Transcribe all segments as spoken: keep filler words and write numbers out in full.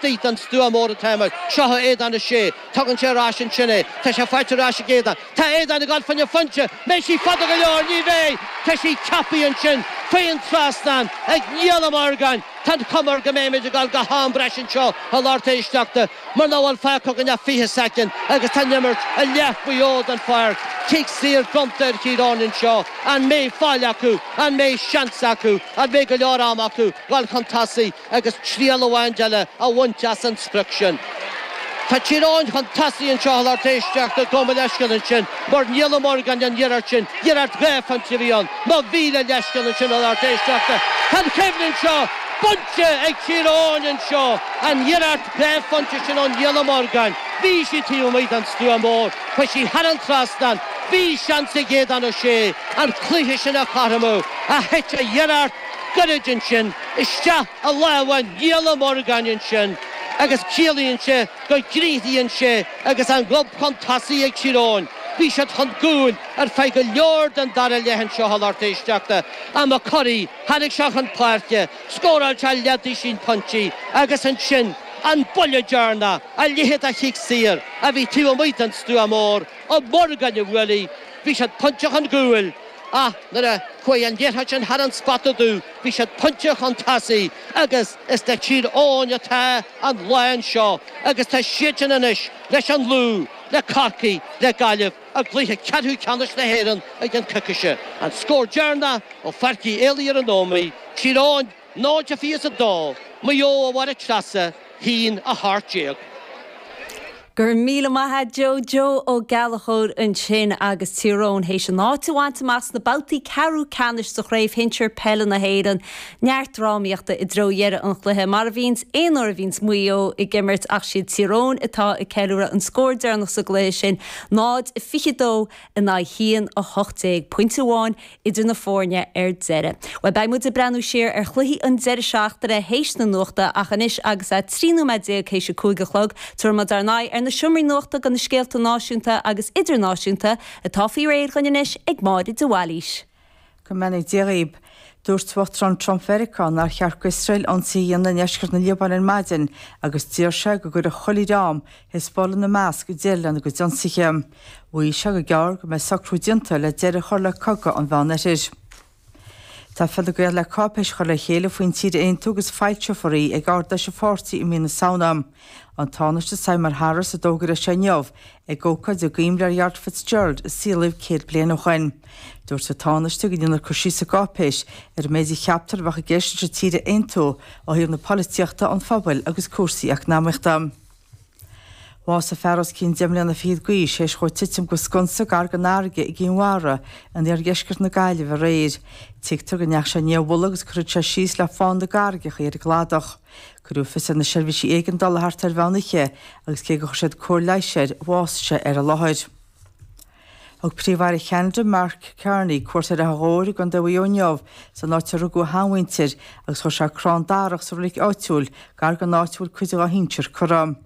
Laistigh den stua mór atá seo Aodán Ó Sé, tugann sé ar ais ansin é, tá sé faighte ar ais ag Aodán. Tá Aodán ag dul fá choinne pointe, mbeidh sí fada go leor, ní bheidh, tá sí ceaptha ansin faoin trasnán ag Niall Ó Morgáin. Tá an chuma air go mbeimid ag dul go ham breise anseo a lucht éisteachta mar nach bhfuil fágtha againn ach fiche soicind agus tá an imirt i leath faoi dhó den pháirc. Cic saor bronnta ar Thír Eoghain anseo. An mbeidh fáil acu? An mbeidh seans acu? An mbeidh go leor ama acu dul chun tosaigh agus triail amháin eile a bhaint as an sprioc sin? Tá Tír Eoghain chun tosaigh anseo a lucht éisteachta gabh mo leithscéal ansin mar Niall Ó Morgáin an iarracht sin, iarracht dhá phointe a bhí ann. Mo mhíle leithscéal ansin a lucht éisteachta. Tá an choimhlint seo bainte ag Tír Eoghain anseo, an iarracht dhá phointe sin ó Niall Ó Morgáin. Bhí sí taobh amuigh den stua mór, chuaigh sí thar an trasnán, bhí seans ag Aodán Ó Sé an cluiche sin a chothromú ach thit a iarracht gairid ansin isteach i lámha Niall Ó Morgáin ansin agus ciallaíonn sé go gcríochnaíonn sé agus an gob chun tosaigh ag Tír Eoghain. Bhí siad chun cúil ar feadh go leor den dara leath anseo a lucht éisteachta. Ach McCurry, tháinig sé chun páirce, scóráil sé leathduisín pointí agus ansin an buille deireanach, a leithéid de chic saor a bhí taobh amuigh den stua mór, Ó Morgáin a bhuail í. Bhí siad pointe chun cúil ach nuair a chuaigh an liathróid sin thar an spota dubh, bhí siad pointe chun tosaigh agus is le Tír Eoghain atá an lá anseo agus tá siadsan anois leis an Lú, le Corcaigh, le Gaillimh i gcluiche ceathrú ceannais na hÉireann i gceann coicíse. An scór deireanach ó Pháirc Uí Éalaí ar an Ómaigh, Tír Eoghain náid a fiche is a dó, Maigh Eo a Mháire Treasa, haon a hocht déag. Go raibh míle maith agat Joe Joe Ó Gallchóir ansin agus Tír Eoghain théis a n-áit a bhaint amach sna babhtaí ceathrú ceannais sa chraobh shinsir peile na hÉireann. Neart drámaíochta i dtreo dheireadh an chluiche mar a bhíonns aon uair a bhíonns Maigh Eo ag imirt ach siad Tír Eoghain atá ag ceiliúradh an scór deireanach sa gcluiche sin náid a fiche dó in aghaidh haon a hocht déag pointe amháin idir na foirne ar deireadh. Well beidh muid ag breathnú siar ar chluichí an deireadh seachtaine théis na nuachta ach anois agus é trí nóiméad déag théis a cúig a chlog, tabharfaidh muid ár n-aghaidh ar na seomraí nuachta do na scéalta náisiúnta agus idirnáisiúnta atá faoi réir againn anois ag Máire de Bhailís. Go mbeannaí Dia dhaoibh. Dúirt Uachtarán Trump Mheiriceá nár cheart d'Iosrael ionsaí a dhéanamh i ndeisceart na Liobáine ar maidin agus d'iarr sé go gcuirfeadh chuile dhream Hezbollah ina measc deireadh lena gcuid ionsaithe. Mhaígh sé gur gearr go mbeidh socrú déanta le deireadh a chur le cogadh an Mheánoirthir. Tá Fine Gael le cáipéis a chur le chéile faoin tír a aontú agus foilseofar í ag Ard-Fheis an pháirtí i mí na Samhna. An Tánaiste Simon Harris a d'fhógair é seo inniu ag ócáid i gcuimhne ar Gerald Fitzgerald a saolaíodh céad bliain ó shin. Dúirt an Tánaiste go ndéanfar cur síos sa gcáipéis ar an méid a cheaptar a bheadh i gceist leis an tír a aontú ó thaobh na polaitíochta, an phobail agus cúrsaí eacnamaíochta. Bhásaigh fear os cionn deich mbliana fichead d'aois théis dhó titim go sconsa gar don fharraige i gCinn Mhara in iardheisceart na Gaillimhe aréir. Tuigtear go ndeachaigh sé i ndiaidh a mhullaigh agus gur thit sé síos le fána na gcarraigeacha ar an gcladach. Cuireadh fios ar na seirbhísí éigeandála thart ar mheán oíche agus cé gur chuir siad cóir leighis air, bhásaigh sé ar an láthair. Thug Príomh-Aire Cheanada Mark Carney cuairt ar Achadh Ghobhair i gContae Mhaigh Eo inniu, san áit a rugadh a sheanmhuintir, agus chuir sé crann darach sa reilig áitiúil gar don áit a bhfuil cuid dá shinsir curtha.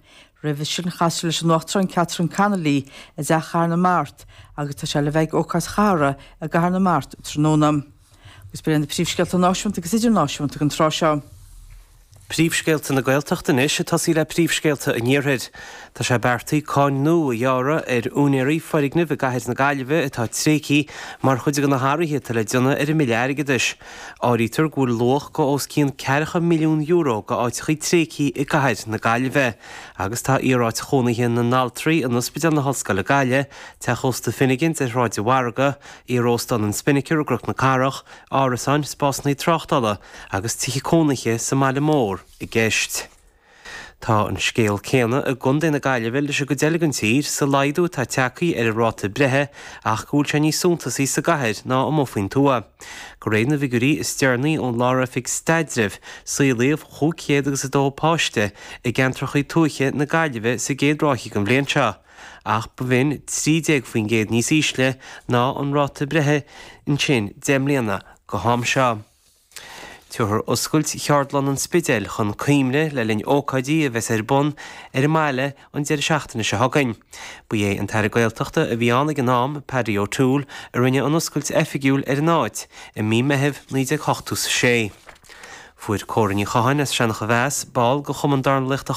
Roimhe sin chas sé leis an Uachtarán Catherine Connolly i dTeach Chathair na Mart agus tá sé le bheith ag ócáid chathartha i gCathair na Mart tráthnóna. Agus b'in iad na príomhscéalta náisiúnta agus idirnáisiúnta don tráth seo. Príomhscéalta na Gaeltachta anois, ag tosaí le príomhscéalta an Iarthair. Tá sé beartaithe cáin nua a ghearradh ar úinéirí foirgneamh i gcathair na Gaillimhe atá tréigthe mar chuid de na hathruithe atá le déanamh ar an mBille Airgeadais. Áirítear go bhfuil luach go os cionn ceathracha milliún euro go áiteachaí tréigthe i gcathair na Gaillimhe. Agus tá iaráit chónaithe na n-altraí in Ospidéal na hOllscoile Gaillimh, Teach Ósta Finnegan's ar Shráid an Mhargaidh, Iar-Óstán an Spinnaker i gCnoc na Cathrach, árasáin, spásanna tráchtála agus tithe cónaithe sa mbaile mór i gceist. Tá an scéal céanna i gContae na Gaillimhe leis an gcuid eile den tír sa laghdú atá tagtha ar an ráta breithe ach go bhfuil sé níos suntasaí sa gcathair ná amuigh faoin tuath. De réir na bhfigiúirí is deireanaí ón Lár-Oifig Staidrimh, saolaíodh chúig chéad agus a dó páiste i gceantracha tuaithe na Gaillimhe sa gcéad ráithe den bhliain seo, ach b'in trí déag faoin gcéad níos ísle ná an ráta breithe ansin deich mbliana go ham seo. Tabharfar oscailt Cheardlann an Spidéil chun cuimhne le linn ócáidí a bheas ar bun ar an mbaile an deireadh seachtaine seo chugainn. Ba é an tAire Gaeltachta a bhí ann ag an am, Paddy O'Toole, a rinne an oscailt oifigiúil ar an áit i mí Meithimh naoi déag ochtó is a sé. Fuair Córa Ní Chatháin as Seancha Mheas, ball de Chumann Dornálaíochta